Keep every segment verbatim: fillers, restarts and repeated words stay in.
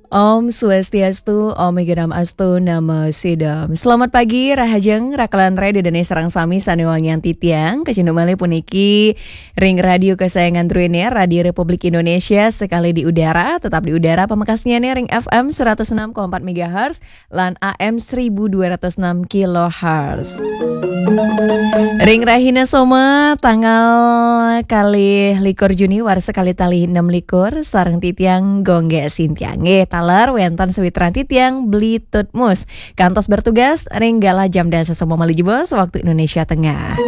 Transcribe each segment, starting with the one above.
Om Swastiastu, Om Iganam Astu, Namo Sidam. Selamat pagi, rahajeng, rakalan rai ida dané sareng sami sané wangian titiang, kacunduk malih puniki ring radio kesayangan druéné, Radio Republik Indonesia, sekali di udara, tetap di udara, pamekasnyané ring F M seratus enam koma empat megahertz, lan A M seribu dua ratus enam kilohertz. Ring rahina Soma, tanggal kalih likur Juni, warsa kalih tali enam likur, sareng titiang Gung Gé Sintia. Nggih, taler wénten sawitran titiang Bli Tutmus. Kantos bertugas ring galah jam dasa Soma malih jebos, waktu Indonesia Tengah.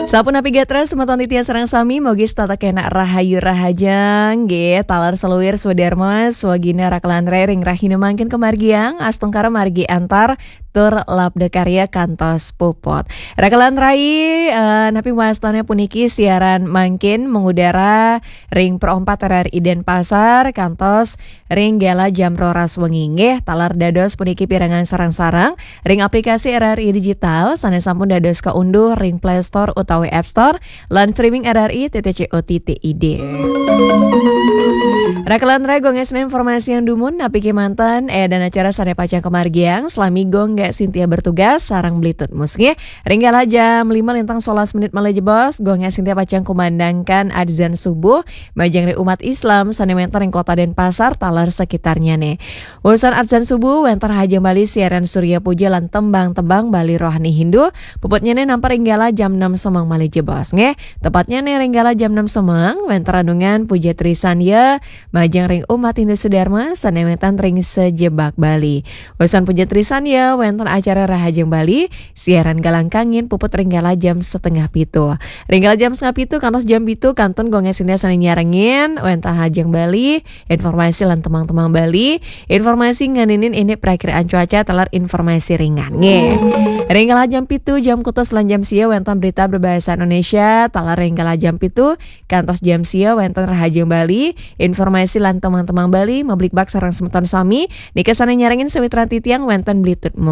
Sapunapi gatra semeton titiang sareng sami, mugi setata kenak rahayu rahajeng, nggih, taler saluir swadarma, swagina rakalan rai ring rahina mangkin kamargiang, astungkara margi antar, tur labda karya kantos puput. Rakalan rai, eh, napi wastané puniki siaran mangkin mengudara ring Pro empat R R I Denpasar, kantos ring galah jam roras wengi, nggih, taler dados puniki pirengang sareng-sareng ring aplikasi R R I Digital, sané sampun dados kaunduh ring Play Store utawi App Store, lan streaming R R I titik co titik I D. Rakalan rai, Gung Gé Sintia informasiang dumun, napi kémanten, eh, dan acara sané pacang kamargiang, salami Gung Gé Sintia bertugas, sareng Bli Tutmus, nggih. Ring galah jam lima lintang solas menit malih jebos, Gung Gé Sintia pacang kumandangkan adzan subuh, majeng ring umat Islam, sané wénten ring Kota Denpasar, taler sekitarnyané. Wusan adzan subuh, wénten Rahajeng Bali siaran Surya Puja lan tembang-tembang Bali rohani Hindu, puputnyané nampar ring galah jam enam semeng malih jebos, nggih. Tepatnyané ring galah jam enam semeng, wénten renungan Puja Trisandya, majeng ring umat Hindu Sudarma, sané wénten ring sajebag Bali. Wusan Puja Trisandya, wénten acara Rahajeng Bali, siaran Galang Kangin puput ring galah jam setengah pitu. Ring galah jam setengah pitu, kantos jam pitu, kantun Gung Gé Sintia sané nyarengin, wénten Rahajeng Bali, informasi lan tembang-tembang Bali, informasi ngeninin indik prakiraan cuaca taler informasi ringan. Nggih. Ring galah jam pitu, jam kutus lan jam sia wénten berita berbahasa Indonesia, taler ring galah jam pitu, kantos jam sia wénten Rahajeng Bali, informasi lan tembang-tembang Bali, mablikbak sareng semeton sami, nika sané nyarengin sawitran titiang wénten Bli Tutmus.